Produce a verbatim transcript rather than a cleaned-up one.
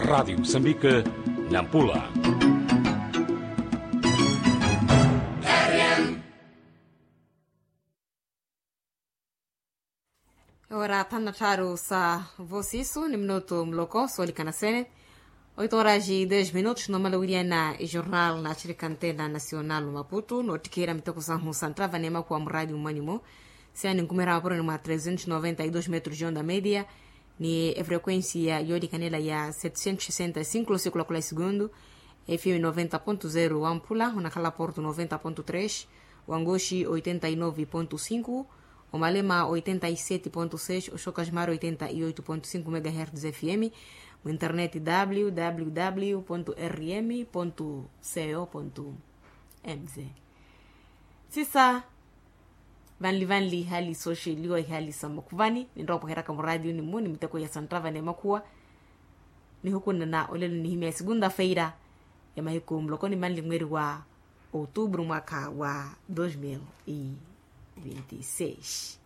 Radiyo musambika, nampula. Ora thanu na tthaaru sa vosisu ni minutu muloko soolikana sene. Oito horas e dez minutos nomala wiriana ejornal na axirikantela nacional maputu noottikheera miteko sahu sa nttava n'emakhuwa muraadi mmwanimo. Siya ninkumeerya mapuroni mwa trezentos noventa e dos metros de onda media, ni efrequencia yoolikanela ya setecentos sessenta e cinco losiku lakula esegundu. Fm noventa ponto zero wamphula onakhala porto noventa ponto tres, wangoxi oitenta e nove ponto cinco, omalema oitenta e sete ponto seis, oxokajimari oitenta e oito ponto cinco megahertz fm. Mu internet www rm co mz. Sisa, vanli vanli ihali sooxeliwa ihali sa makhuvani ninrowa opweheryaka muraatiyuni mmu ni miteko ya santtava n'emakhuwa. Nihukunana olelo nihimya esegunta feira ya mahiku muloko ni manli mweri wa outubru mwaka wa dos mil e vinte e seis.